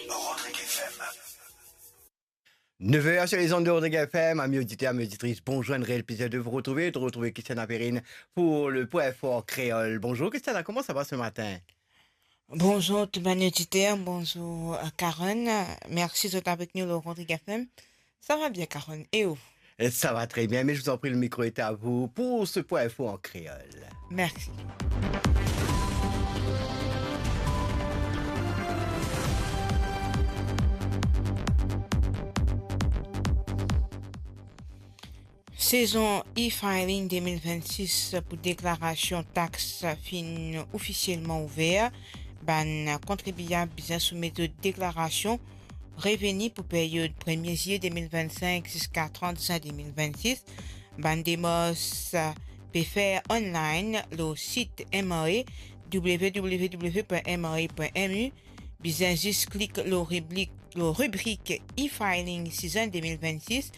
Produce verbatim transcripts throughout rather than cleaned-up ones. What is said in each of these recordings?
Rodrigue F M. Neuf heures sur les ondes de Rodrigue F M. Amis auditeurs, amis auditrices, bonjour, un réel plaisir de vous retrouver, de retrouver Christiane Aperine pour le Point Fort Créole. Bonjour Christiane, comment ça va ce matin ? Bonjour tout bann oditer, bonjour, euh, Karen. Mersi zot avek nou lor Rodrigue F M. Sa va bien, Karen. E ou ? Et ça va très bien, mais je vous en prie, le micro est à vous pour ce Point Info en créole. Mersi. Sezon e-filing de mil vennsis pou deklarasion tax finn ofisielman ouver. Bann kontribiab bizin soumet zot deklarasion reveni pou period premie zilie de mil vennsink ziska trant zin de mil vennsis. Bann demars pe fer online lor sit M R A, w w w point m r a point m u. Bizin zis klik lor ribrik, lor ribrik e-filing sizin de mil vennsis,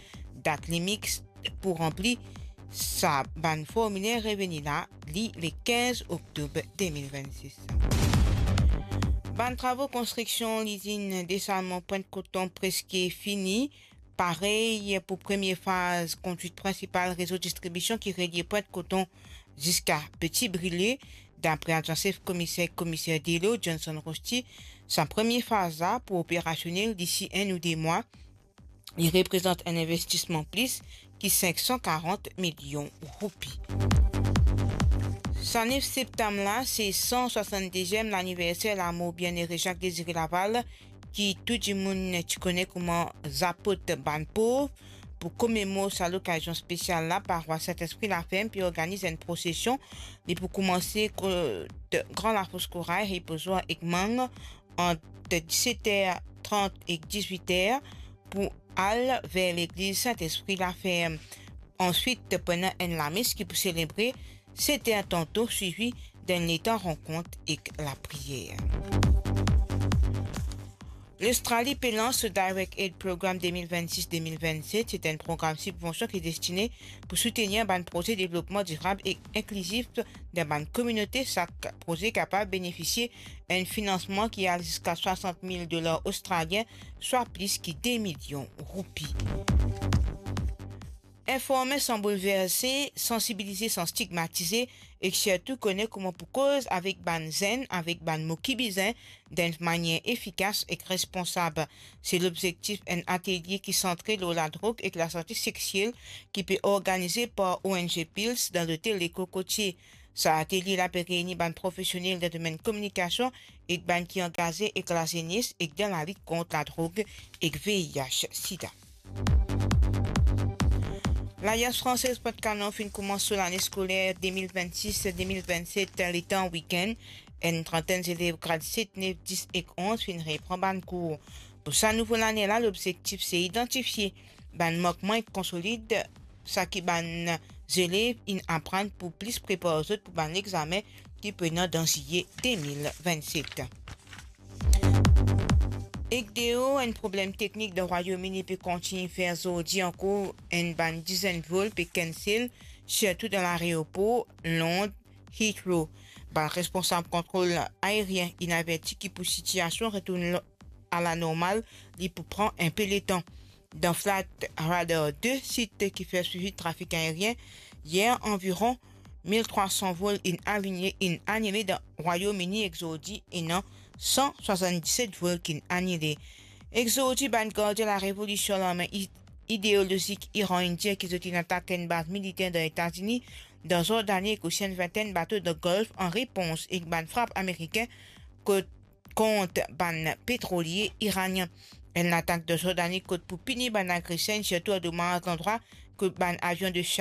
dat limit pou ranpli sa bann formiler reveni la, li le kinz oktob de mil vennsis. Bann travo konstriksion lizinn desalman Pwint Koton preske fini. Parey pou premie faz kontwit prinsipal rezo distribision ki relie Pwint Koton ziska Peti Brile. Dapre adyan sef komiser, komiser delo Johnson Rosti, sa premie faz la pou operasionel disi enn ou de mwa. Li reprezant enn investisman plis ki sink san karant milion roupi. Sa nef septam la, se san swasann-deziem laniverser lamor bienere Jacques Désiré Laval, ki tou dimoun ti kone kouma Zapot bann pov. Pou komemor sa lokazion spesial la, parwas Sint-Espri Laferm pe organiz enn prosesion. Li pou koumanse kot Gran Lafos Koray, Repozoir ek Mang, ant diset er trant ek dizwit er, pou al ver legliz Sint-Espri Laferm. Answit, pou ena enn lames ki pou selebre set er tanto, swivi dan enn letan rankont ek lapriyer. Lostrali pe lans so Direct Aid Program de mil vennsis de mil vennset. Se enn program sibvansion ki destine pou soutenir bann proze devlopman dirab ek inklizif dan bann kominote. Sak proze kapav benefisie enn finansman ki al ziska swasant mil dolar ostralien, swa plis ki de milion roupi. Informe san boulverse, sansibilize san stigmatize, ek sirtou kone kouma pou koz avek bann zenn, avek bann mo ki bizin, dan enn manier efikas ek responsab. Se lobzektif enn atelie ki santre lor ladrog ek lasante sexiel ki pe organize par O N G Pils dan lotel Le Cocotier. Sa atelie la pe reyni bann profesionel dan domenn kominikasion ek bann ki angaze ek lazenes ek dan lalit kont ladrog ek V I H sida. L'Alliance Française Pointe Canon finn koumans so lane skoler de mil vennsis de mil vennset letan wikenn. Enn trantenn zelev grad set, nef, dis ek onz finn repran bann kour. Pou sa nouvo lane la, lobzektif se idantifie bann mankman ek konsolid seki bann zelev inn aprann pou plis prepar zot pou bann lexame ki pou ena dan zilie de mil vennset. Ek deo, enn problem teknik dan Rwayom Ini pe kontign fer zordi ankor, enn bann dizenn vol pe cancel, sirtou dan laeropor Lond Heathrow. Bann responsab kontrol aerien inn averti ki pou sitiasion retourn a lanormal, li pou pran inpe letan. Dan Flight Radar de, sit ki fer swivi trafik aerien, yer anviron mil trwa san vol inn aline, inn anile dan Rwayom Ini, ek zordi ena san swasann-diset vol ki inn anile. Ek zordi, bann gardien larevolision larme i-, ideolozik Iran inn dir ki zot inn atak enn baz militer dan Etazini, dan Zordani, ek osi enn vintenn bato dan Golf, an repons ek bann frap amerikin kot kont bann petrolie iranien. Enn latak dan Zordani kot pou pini bann agreser, sirtou andomaz landrwa kot bann avion de